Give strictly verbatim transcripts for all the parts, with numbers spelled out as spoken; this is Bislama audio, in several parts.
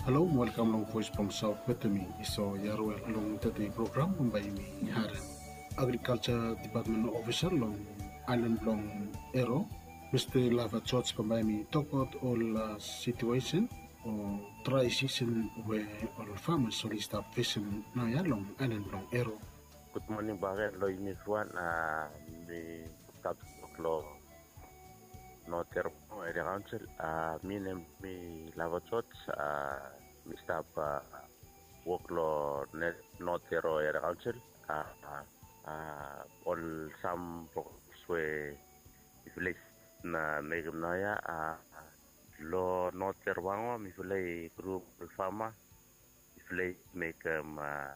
Halo, welkam long Voice blong Saot wetem mi, Esau Yarwel. Long tede program bambae yumi harem agrikalja depatmen ofisa long aelan blong Ero, Mista Lava George, bambae yumi tokbaot ol, a, situesen o drae sisen we ol famas oli stap fesem naoia long aelan blong Ero. Gud moning bakegen long yumi evriwan. A, mi stap wok long North Ero Area Council. A, mi nem mi Lava George. A, mi stap, a, wok long North Ero Area Council. A, a, ol sam programs we mifala i na mekem naoia, a, long North Ero Mango mifala i grum ol fama, mifala i mekem, a,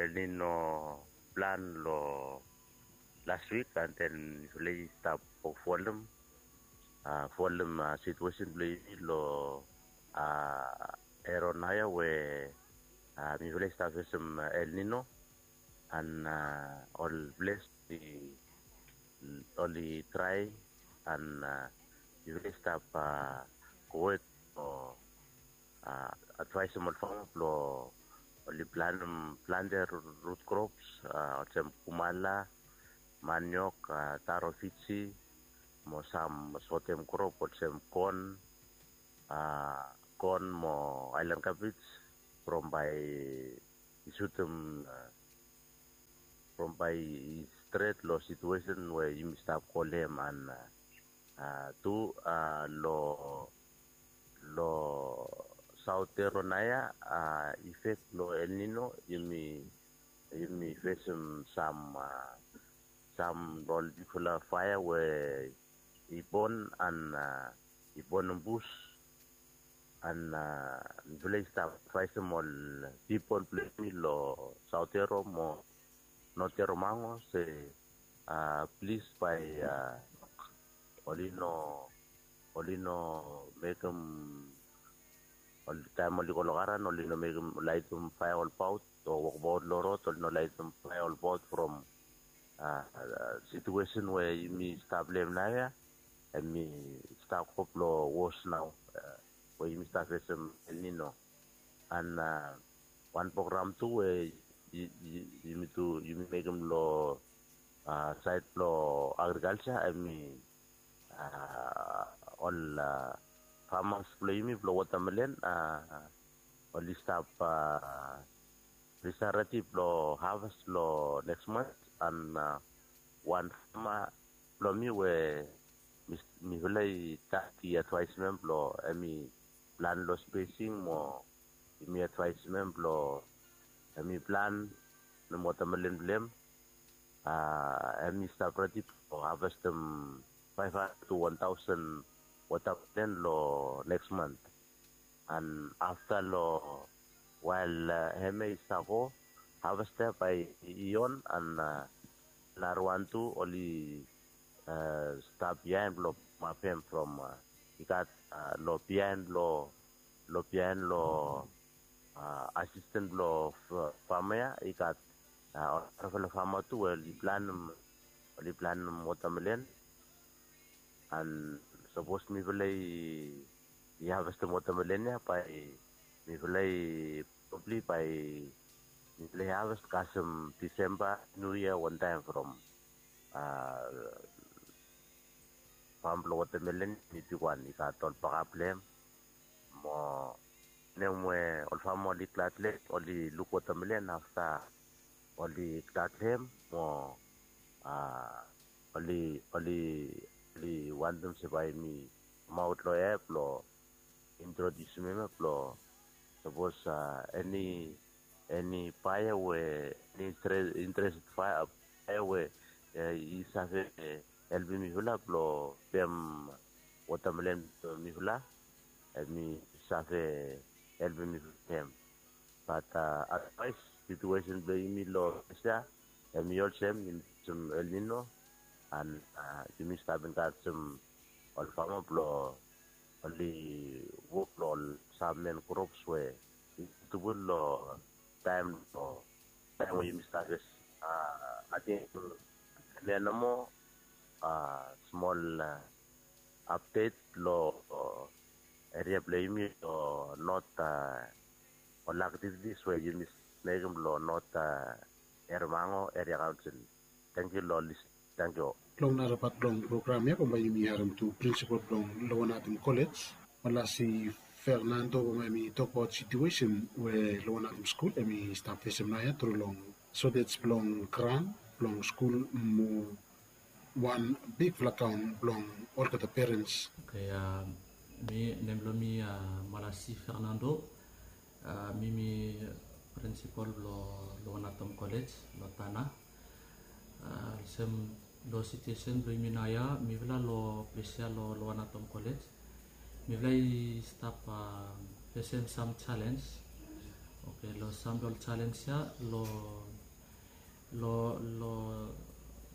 El Nino plan long las wik, and then mifala i stap folem, a, folem, a, situesen blong yumi long, a, Ero naoia we, a, mifala i stap fesem, a, El Nino, and, a, ol ples i oli drae, and, a, mifala i stap, a, gowet o, a, advaesem ol fama blong oli planem, plantem rut krops, a, olsem kumala, maniok, a, taro Fiji, mo sam sotem krop olsem kon, a, kon mo aelan kabej, from bae i sutem, a, from bae i stret long situesen we yumi stap go long hem, and, a, a, tu, a, long, long Saot Ero naoia, a, ifek blong El Nino yumi, yumi fesem sam, a, sam ol bigfala faea we i bon, and, a, i bonem bus, and, a, mifala i stap advaesem ol pipol blong yumi long Saot Ero mo North Ero Mango se, a, plis bae, a, oli no, oli no mekem, ol taem oli go long garan oli no mekem, laetem faea olbaot o wokbaot long rod, oli no laetem faea olbaot from, a, a, situesen we yumi stap long hem naoia, hemi stap go blong wos nao, a, we yumi stap fesem El Nino. And, a, wan program tu we yu-, yu-, yumi tu, yumi mekem long, a, saed blong agrikalja, hemi, a, ol, a, famas blong yumi blong wotamelen, a, oli stap, a, oli stap redi blong haves long neks mant, and, a, wan fama blong mi we mi, mifala i stat i advaesem hem blong hemi plan long spesing mo yumi advaesem hem blong hemi planem wotamelen blong hem. A, hemi stap redi blong havestem faef handred tu wan taosen wotamelen long neks mant. And afta long wael, a, hemia i stap go, havesta bae i on, and, a, narawan tu oli, a, stap biaen blong pamap hem from, a, i gat, a, long biaen blong, long biaen long, a, asisten blong f-, fama ya i gat, a, ol narafala fama tu we oli planem, oli planem wotamelen. And sapos mifala i, i havestem wotamelen ya, bae mifala i, probably bae mifala i haves kasem Disemba, Niu Yia wantaem from, a, fam blong wotamelen i bigwan, i gat ol bakap blong hem. Mo wanem we ol fama oli glad long hem, oli luk wotamelen afta oli glad long hem, mo, a, oli, oli, oli wantem se bae mi kamaot long hem blong introdiusim hem blong sapos, a, eni, eni baea we eni intre-, interested baea, baea we, e, i save, e, helpem mifala blong pem wotamelen blong mifala, hemi save helpem mifala long hem. Bat, a, advaes, situesen blong yumi long ples ya, hemi olsem, yumi olsem El Nino, and, a, yumi stap enkarejem ol fama blong oli wok long ol sam men krops we i sutebol long taem, long taem we yumi stap fes. A, ating hemia nomo, a, smol, a, apdet long, a, eria blong yumi long not ol aktivitis we yumi mekim long not Ermango Eria Kaunsil. Tangkiu long lis. Tangkiu. Long nara pat blong program ya bambae yumi harim tu prinsipal blong Lower Natom College, Malasi Fernando, bambae hemi tokbaot situesen we Lower Natom skul hemi stap fesem naoia tru long sotej blong gran blong skul mo wan bigfala kaon blong olgeta perens. Oke, mi nem blong mi Malasi Fernando. Mi mi prinsipal blong Lower Natom College long Tanna. Olsem long situesen blong yumi naoia, mifala long ples ya long Lower Natom College, mifala i stap fesem sam jalens. Oke, long sam blong ol jalens ya long long long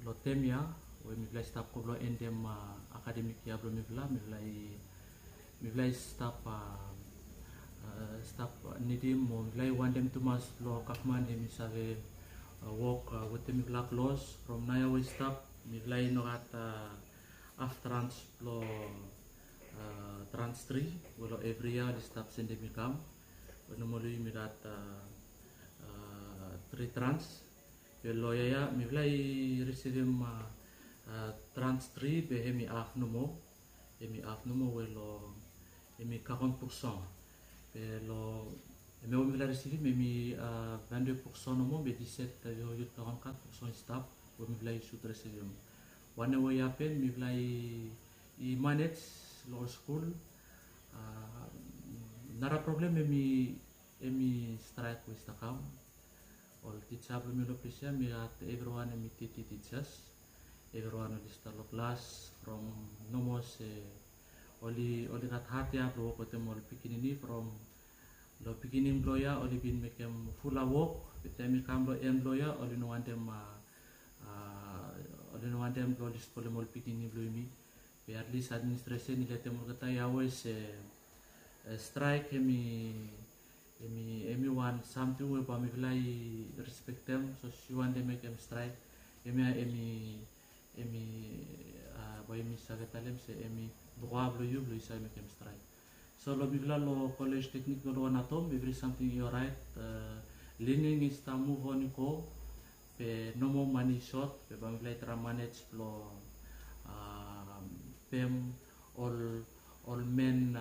long tem ya we mifala i stap go blong endem akademik yia blong mifala, mifala i mifala i stap stap nidim mo mifala i wantem tumas blong gavman hemi save wok wetem mifala klos. From naoia we i stap mifala i no gat haf trans blong trans tri we long evri yia oli stap sendem i kam. We nomali yumi gat tri trans. Be long yia ya mifala i risivim trans tri be hemi haf nomo. Hemi haf nomo we long hemi kagon purson. Be long hemia we mifala i risivim hemi vande purson nomo be diset yut kagon kat purson i stap we mifala i sud risivim. Wanem we i hapen mifala i manej long ol skul. Nara problem hemi hemi straek we i stap kam. Ol tija blong mi long ples ya mi gat evriwan hemi teti tijas. Evriwan oli stap long klas from nomo se oli oli gat hat ya blong wok wetem ol pikinini from long pikinini blong ya oli bin mekem fulap wok. Be taem i kam long en blong ya oli no wantem oli no wantem blong oli spoilem ol pikinini blong yumi. Be at least administration i letem olgeta ya we se straek hemi hemi hemi wan samting we bae mifala i respektem. So si wantem mekem straek hemia hemi hemi bae yumi save talem se hemi broa blong yu blong yu save mekem straek. So long mifala long kolej teknik long Lower Natom evri samting i oraet. Lening i stap muv on i go. Be nomo mane i sot be bae mifala i traem manej blong pem ol ol men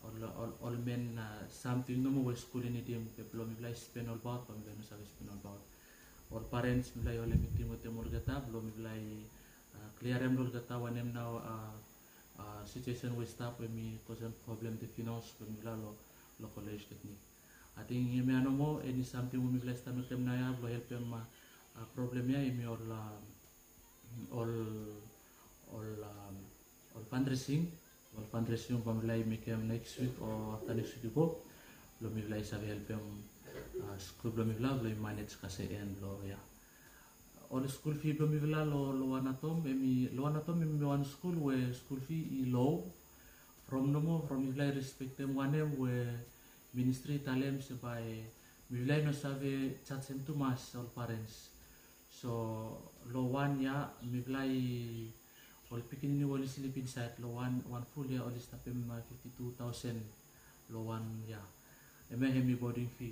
ol ol men samting nomo we skul i nidim be blong mifala i spen olbaot bae mifala i no save spen olbaot. Ol parens mifala i holem miting wetem olgeta blong mifala i kliarem long olgeta wanem nao situesen we i stap we mi kosem problem de finans blong mifala long kolej teknik. Ating hemia nomo eni samting we mifala i stap mekem naoia blong helpem problem ya hemi ol ol ol ol fandresing. Ol fandresing bae mifala i mekem neks wik o afta neks wik i go blong mifala i save helpem skul blong mifala blong i manej kasem en blong ya. Ol skul fi blong mifala long Lower Natom hemi Lower Natom hemi wan skul we skul fi i lo. From nomo from mifala i respektem wanem we ministri i talem se bae mifala i no save jajem tumas ol parens. So long wan yia mifala i ol pikinini we oli slip insaed long wan wan ful yia oli stapem fifti tu taosen long wan yia. Hemia hemi boding fi.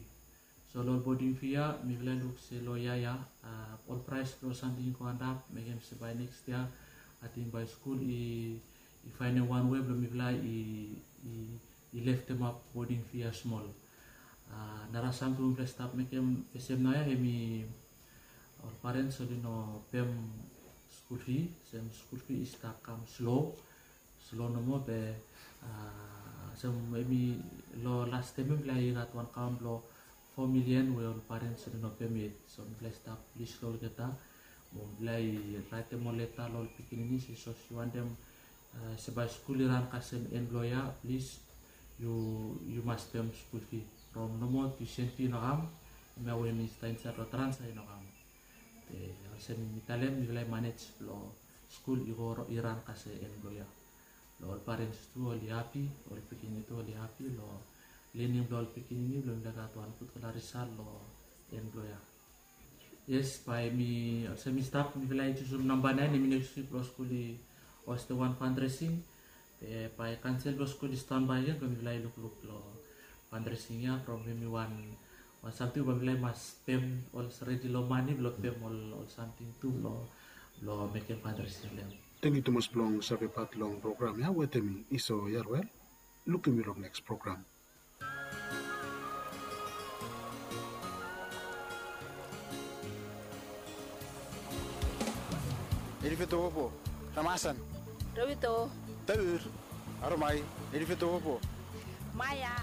So long ol boding fi ya mifala i luk se long yia ya ol praes blong ol samting i go antap mekem se bae neks yia ating bae skul i i faenem wan wei blong mifala i i i leftemap boding fi ya smol. Nara samting we mifala i stap mekem fesem naoia hemi ol parens oli no pem skul fi. Sem skul fi i stap kam slo slo nomo be olsem hemi long las tem ya mifala i gat wan kaon blong fo milian we ol parens oli no pem yet. So mifala i stap plis long olgeta mo mifala i raetem ol leta long ol pikinini se sapos yu wantem se bae skul i ran kasem en blong yia plis yu yu mas pem skul fi. From nomo tusen fi i no kam. Hemia we mi stap insaed long trans ya i no kam. Be olsem mi talem mifala i manej blong skul i go i ran kasem en blong yia. Long ol parens tu oli hapi ol pikinini tu oli hapi long lening blong ol pikinini blong mifala i gat wan gudfala risal long en blong yia. Yes bae mi olsem mi stap mifala i jusum namba naen hemi neks wik blong skul i hostem wan fandresing. Be bae kansel blong skul i stanbae gen, be mifala i lukluk long fundraising ya from hemi wan wan samting we mifala i mas pem ol redi long mane blong pem ol ol samting tu blong blong mekem fundraising blong hem. Tangkiu tumas blong save pat long program ya wetem mi Iso Yarwel. Lukim yu long neks program. Elifeto opo, Ramasan. Rawito. Taur, Aromai, Elifeto opo. Maya.